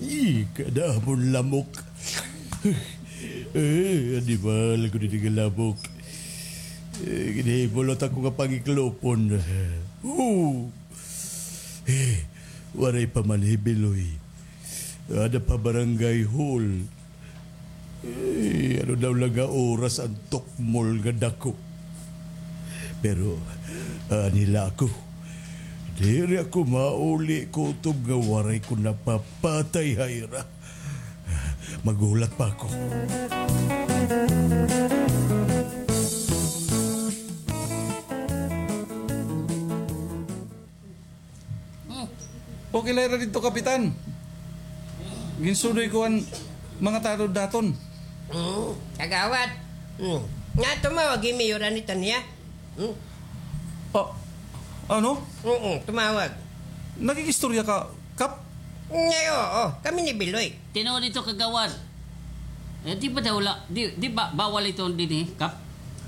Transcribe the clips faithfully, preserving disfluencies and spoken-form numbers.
Ih, kadamon lamok. Eh, animal ko didi nga lamok. Eh, ginhimo lang ako nga pangiklopon. Oh. Eh, waray pa man hi Biloy. Ada pa barangay hall. Eh, ano daw la nga oras an tukmol nga dako? Pero, ani la ako. Diri ako mauli kutob nga waray ko napapatay ha ira. Maghulat pa ako. Hmm. Okay la hira didto, Kapitan. Ginsudoy ko an mga tanod naton. Hmm, kagawad. Hmm. Nga tumawag hi Mayor anay ta niya. Hmm. Ah, ano? Oo, tumawag. Nakikistorya ka, Kap? Ay, oo, kami ni Biloy. Tinuod ito, kagawad. Eh, di ba daw la, di, di ba bawal ito dinhi, Kap?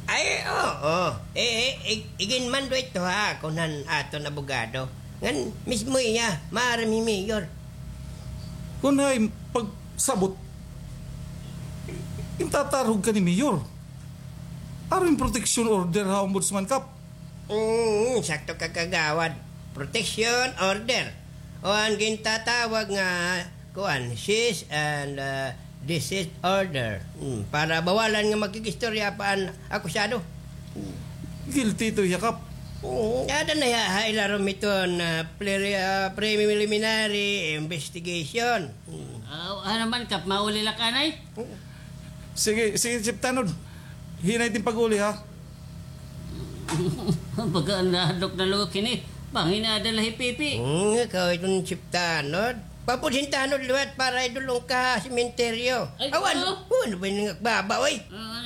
Ay, oo. Eh, eh, ig-, iginmando ito ha, kun han aton abogado. Ngan mismo iya, maaram hi Mayor. Kun hay pagsabot, intatarog ka ni Mayor. Aron protection order ha Ombudsman, Kap. Mm, sakto ka, kagawad. Protection order. O an gintatawag nga, kuan, cease and, ah, desist order. Mm, para bawalan nga makikistorya pa an akusado. Guilty ito hiya, Kap. Mm, ada na hiya ha ilarom hiton, ah, pre-, ah, preliminary investigation. Mm. Ah, ano man, Kap, mauli la ka anay? Mm. Sige, sige, Chief Tanod. Hinay it im pag-uli, ha? Baga nahadlok na luwag hini. Bangin ada la hi Pipi. Hmm, ikaw iton Chief Tanod. Papod hin tanod liwat para idulong ka ha sementeryo. Ay, awan, oo. Ano ba ini nga baba, oy? Ah,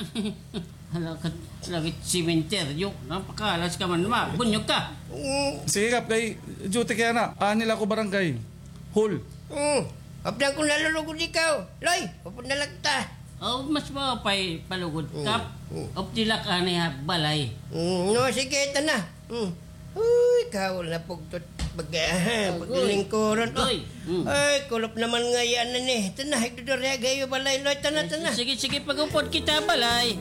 hala ka, lagi sementeryo. Napakalas ka man, ma. Bunyog ka. Hmm. Sige, Kap, kay duty kay ana. Ani la ako barangay hall. Hmm. Apdan ko nalulugod ikaw. Loy, upod na la kita. Oh, mas maupay palugod, Kap. Mm. Updi la ka anay ha balay. Mm, no, sige, ito na. Mm. Uy, kaul na pugtot. Pag-, ah, agoy. Paglilingkuron. Oh. Agoy. Mm. Ay, kulop naman nga yan na ni. Ito na, igdudurya gayo balay, Loy. Ito na, ito na. Sige, sige, pag-upod kita balay.